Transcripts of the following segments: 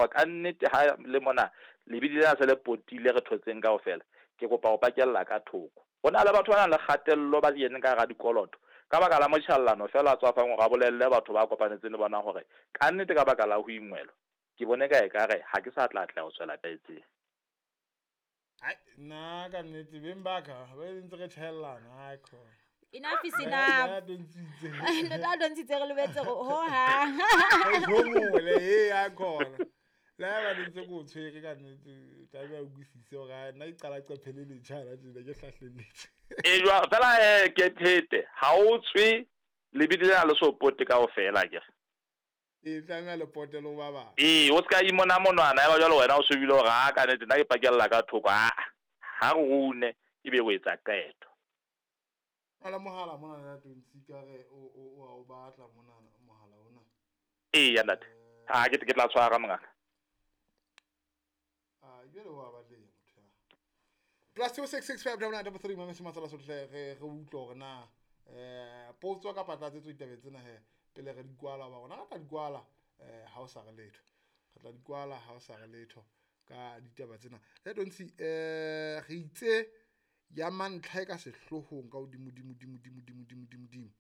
Ka nnete ha le mona lebidi lena se le potile re thotseng kaofela, ke kopa ho pakella ka thoko. Ho na le batho ba nang le kgatello ba keneng ka hara dikoloto ka baka la motjhellano feela a tswafang hore a bolelle batho ba kopanetseng le bona hore ka nnete ka baka la ho ingwelwa ke bone ka ekare ha ke sa tla atleha ho tswela pele. Ai, nna ka nnete beng ba ka ba ntse re tjhaellana, ai khona. Enough is enough. Ntate a dontshitse re lebetse ho hang. Homole e a khona. Le ha ba ntse ko tshwere ka nnete tlabe a utlwisise hore nna ke qala qephe le letjha la tjena ke hlahlelletse. E jwa fela ke phete ha o tswe lebidi lena le so pote kaofela akere. E tlameha le pote le ba bang. Ee, o se ka imona monwana ya ba jwale wena o shebile hore a ka nnete nna ke pakella ka thoko a ha re rune ebe o etsa qeto. Ala mohala mona ya Tontsi ka re o a o batla mona mohala ona. Ee ya ntate. Ha ke tla tshwara mongaka. Ah, jwale wa batleha motho ya. +266 5 9 3 mame se matsala sohle re re utlwe hore na potso kapa tlatsetso ditabeng tsena he pele re di kwala ba rona re tla di kwala ha o sa re letho. Re tla di kwala ha o sa re letho ka ditaba tsena. Le Tontsi re itse ya mantlha e ka sehloohong ka hodimo dimo dimo dimo dimo dimo dimo dimo.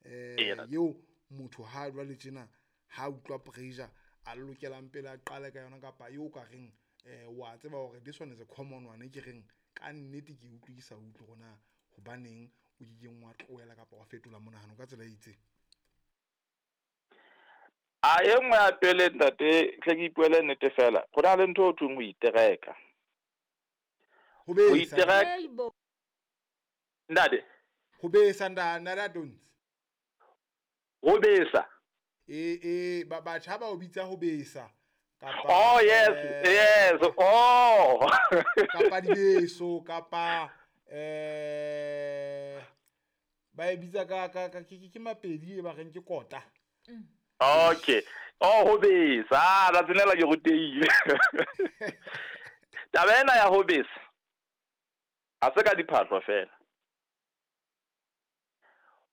Eo motho ha jwale tjena ha utlwa pressure a lokelang pele a qale ka yona kapa eo ka reng wa tseba hore this one is a common one ke reng ka nnete ke utlwe ke sa utlwe hore na hobaneng o kekeng wa tlohela kapa wa fetola monahano ka tsela e itseng. A e nngwe ya pele ntate tle ke ipuele nnete fela go na le ntho o thweng ho itereka. Ho besa. Ho itereka. Ntate. Ho besa ntate Tontsi. Ho besa. E batjha ba o bitsa ho besa. Kapa, oh yes, yes. Oh. Kapa dibeso kapa ba e bitsa ka ka ke mapedi e ba reng ke kota. Okay. Oh ho besa. La tsenela ke rutehile. Taba ena ya ho besa. Ha se ka diphahlo fela.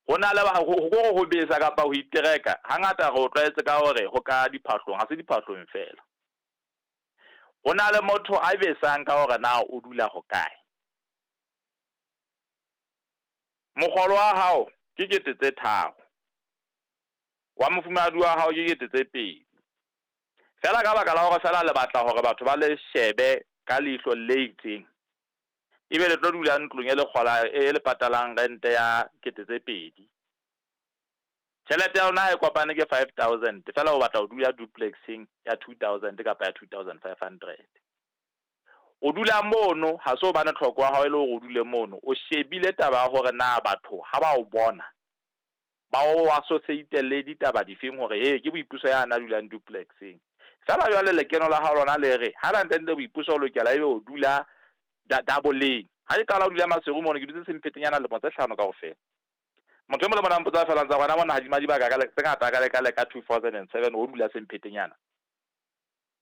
Ho na le ho ho besa kapa ho itereka hangata re o tlwaetse ka hore ho ka diphahlong, ha se diphahlong fela. Ho na le motho a besang ka hore na o dula ho kae. Mokgolo wa hao ke 3,000. Wa mofumahadi wa hao ke 2,000. Fela ka baka la hore fela le batla hore batho ba le shebe ka leihlo le itseng. Ebe le tlo dula ntlong e le kgola e le patalang rente ya 2,000. Tjhelete ya lona e kopane ke 5,000 fela o batla ho dula duplexing ya 2,000 kapa ya 2,500. O dula mono ha se hobane tlhoko ya hao e le hore o dule mono, o shebile taba ya hore na batho ha ba o bona ba o associate le ditaba difeng hore he ke Boipuso ya na dulang duplexing. Fela jwale lekeno la hao lona le re ha la ntende Boipuso o lokela ebe o dula double. Ha ke qala ho dula Maseru mono ke dutse semphetenyana lemo tse 5 kaofela. Motho e mong le mona mpotsa fela ntsa rona mona hadima dibaka ka tse ngata ka le ka 2007 o dula semphetenyana.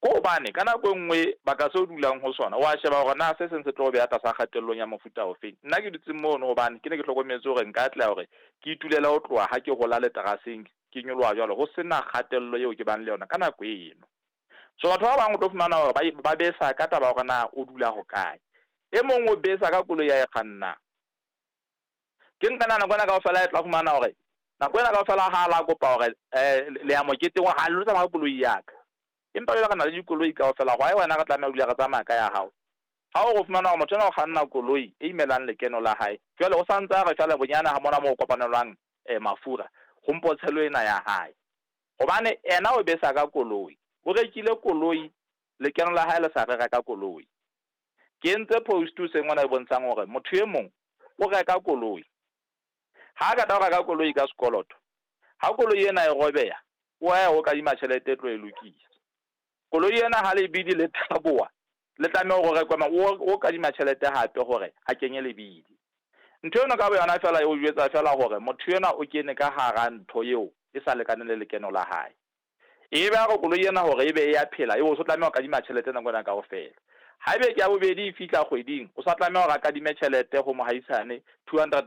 Ko hobane ka nako e nngwe baka se o dulang ho sona wa sheba hore na se seng se tlo beha tlasa kgatellong ya mofuta ofeng. Nna ke dutse mono hobane ke ne ke hlokometse hore nka atleha hore ke itulele ho tloha ha ke hola leteraseng ke nyoloha jwalo ho sena kgatello eo ke bang le yona ka nako eno. So batho ba bang o tlo fumana hore ba besa ka taba hore na o dula ho kae. E mong o besa ka koloi ya e kgannang. Ke nka nako ena kaofela e tla fumana hore nako ena kaofela ha la kopa hore le ya moketeng ha le tsamaya ka koloi ya ka. Empa jwale re na le dikoloi kaofela, hwa wena re tlameha ho dula re tsamaya ka ya hao. Ha o fumana hore motho ena o kganna koloi e imelang lekeno la hae, jwale o santse a re jwale bonyane ha mona moo kopanelwang mafura ho mpotshelo ena ya hae. Hobane ena o besa ka koloi, o rekile koloi, lekeno la hae le sa re reka koloi. Ke entse post se ngwana e bontshang hore motho e mong o reka koloi. Ha ka tla reka koloi ka sekoloto, ha koloi ena e robeha, o ya ho kadima tjhelete e tlo e lokisa. Koloi ena ha lebidi le thaboa, le tlameha hore rekwe o kadima tjhelete hape hore a kenye lebidi. Ntho eno ka boyona fela e o jwetsa fela hore motho ena o kene ka hara ntho eo e sa lekaneng le lekeno la hae. E be a re koloi ena hore ebe e ya phela, eo o so tlameha ho kadima tjhelete nako ena kaofela. Haebe ke ya bobedi e fihla kgweding, o sa tlameha hore a kadime tjhelete ho mohaisane 200